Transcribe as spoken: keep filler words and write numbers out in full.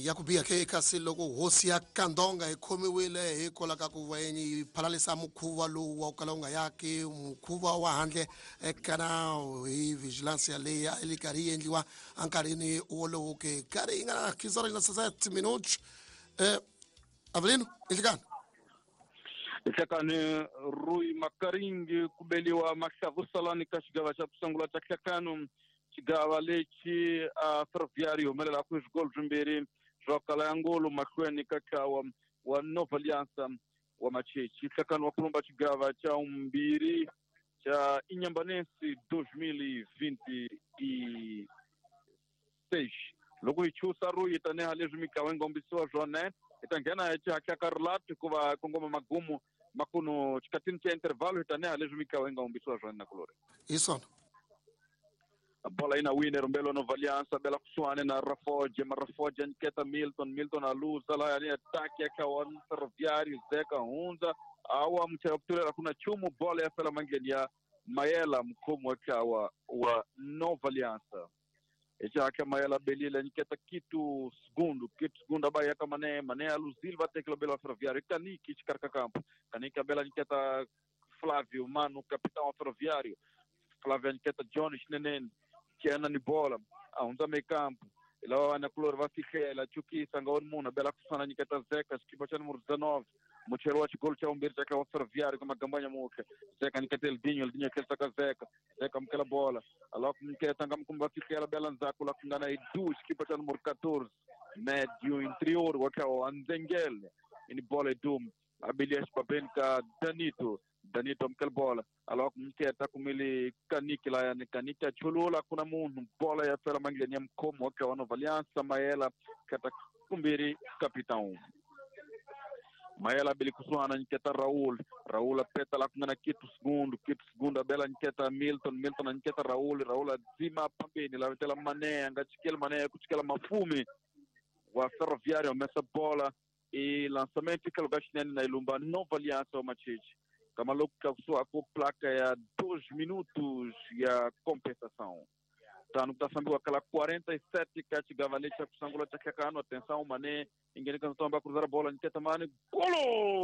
Ya ku biha ke, kasi loko hosi ya Kandonga yi khomiwile hikwalaho ka ku va yi phalalisa mukhuva lowu wa ku kala wu nga yaki mukhuva wa handle eka nawu hi vigilance yaleyi a yi karhi yi endliwa enkarhini wolowo ke. Karhi yi nga na quinze horas na sete minutos. eh Avelino, inhlikani. Nhlekani Rui Makaringi, ku beliwa mahlavusalani ka xigava xa ku sungula xa nhlekano, xigava lexi a Ferroviário yi humelelaku hi swigolo swimbirhi swa kala ya ngolo mahlweni ka ntlawa wa Nova Aliança wa Machechi. Nhlekano wa kulumba xigava xa vumbirhi xa Inhambane dois mil e vinte e seis. Loko hi chusa Rui, tanihi leswi mitlawa yi nga kombisiwa swona, hi ta nghena hi xihatla ka rilato hikuva kongoma magumu makuno xikatini xa intervalo, tanihi leswi mitlawa yi nga kombisiwa swona nakulori. Hi swona. Bola ina wine rumbelo Nova Aliança, bela kusuhani na Rafoge, Marafoge anyiketa Milton, Milton aluza laya ni ataki ya wa Ferroviário. Zeka hundza awa muchaya kutulela, kuna chumu, bola ya fela mandleni ya Mayela, mukhomi wa ntlawa wa Nova Aliança. Echaka Mayela belile, anyiketa Quito Segundo, Quito Segundo abayaka Mané, Mané aluzile, vatekela bela Ferroviário, Kaniki xikarhi campo, Kaniki abela anyiketa Flávio Mano, capitão wa Ferroviário. Flávio anyiketa John Xinenene, chena ni bola, a hundza meio campo, lava na kulori va fihlela chukisa nga uri munhu, abela kusana nyiketa Zeka, xikipa xa numero dezenove, mucheri wa xigolo xa vumbirhi xa wa Ferroviário ka magambanya muhle. Zeka nyiketa Eldinho, Eldinho tlherisa ka Zeka, Zeka amukela bola, alawa ku nyiketa nga mukumbi va fihlela, bela ndzhaku la ku nga na Edu, xikipa xa numero catorze, médio interior wa ntlawa wa Ndzengele. Ini bola Edu abilia xibabeni ka Danito, Danito amukela bola, alawa ku nyiketa kumile Kaniki layani, Kaniki a chulula, kuna munhu, bola ya fela mandleni ya mukhomi wa ntlawa wa Nova Aliança, Mayela kata kumbirhi capitão Mayela beli kusuhana, nyiketa Raul, Raul apeta la ku nga na Quito Segundo, Quito Segundo abela nyiketa Milton, Milton anyiketa Raul, Raul adzima pambeni la vetela Mané, a nga chikeli Mané, ku chikela Mafumi wa Ferroviário, humesa bola e lançamento eka lugar xinene na ilumba Nova Aliança wa Machechi. Kama loko tlakusiwa ku placa ya dois minutos ya compensação, tano ku ta fambiwa kala quarenta e sete ka xigava lexi xa ku sungula xa nhlekano. Atenção, Mané ingeni ka ntomba, cruzar bola, nyiketa Mane, golo!